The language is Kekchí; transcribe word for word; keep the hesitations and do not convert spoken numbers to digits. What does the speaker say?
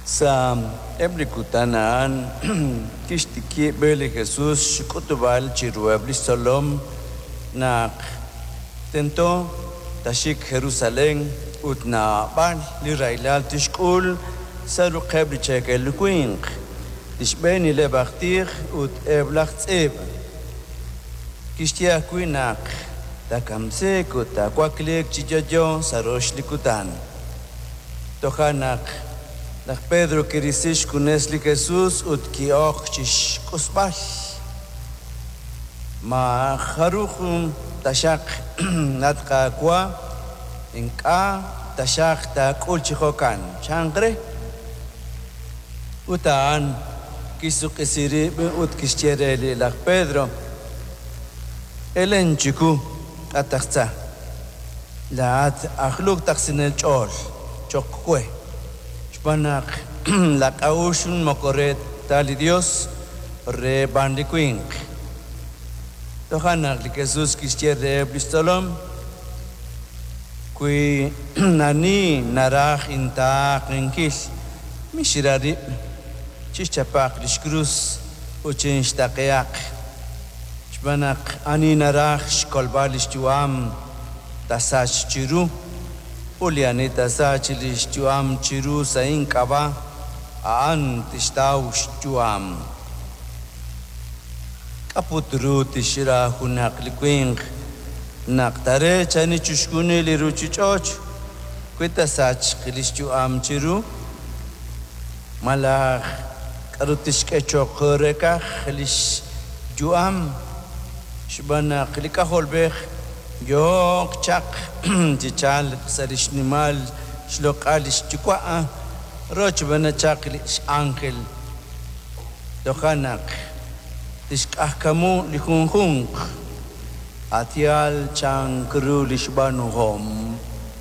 Sa' eb' li kutan a'an kixtikib' li Jesus xk'utb'al chiruheb' li xtzolom naq tento taaxik Jerusalén ut naab'al li rahilal tixk'ul sa' ruq'eb' li cheekel winq, li xb'eenileb' aj tij ut eb' laj tz'iib'. Kixye ajwi' naq taakamsiiq ut taawakliiq chi yo'yo sa' rox li kutan. Toja' naq laj Pedro kirisi xjunes li Jesus ut ki'ok chi xq'usb'al: “Maajaruj taxaq, at Qaawa', ink'a' taxaq taak'ul chi jo'kan”, chan re. Ut a'an kixsuq'isi rib' ut kixye re li laj Pedro: “Elen chiwu, at aj tza, laa'at aj luktasinel ch'ool cho'q we, xb'aan naq laak'a'uxl moko re ta li Yos, re b'an li winq”. Toja' naq li Jesus kixye reheb' li xtzolom: “Wi ani naraj intaaqenkil, mixra rib', chixchapaq li xkrus ut chinxtaaqehaq. Xb'aan naq ani naraj xkolb'al li xyu'am, taasachq chiru, ut li ani taasachq li xyu'am chiru sa' ink'ab'a', a'an tixtaw xyu'am. K'a' put ru tixra junaq li winq naq taareechani chixjunil li ruuchich'och' wi taasachq li xyu'am chiru? Malaj k'aru tixk'e cho'q reeqaj li xyu'am? Xb'aan naq li K'ajolb'ej yooq chaq chi chalk sa' li xnimal xloq'al li xYuwa' rochb'een chaq li x'ánjel. Toja' naq tixq'ajkamu li junjunq a' yaal chan ru li xb'aanuhom”.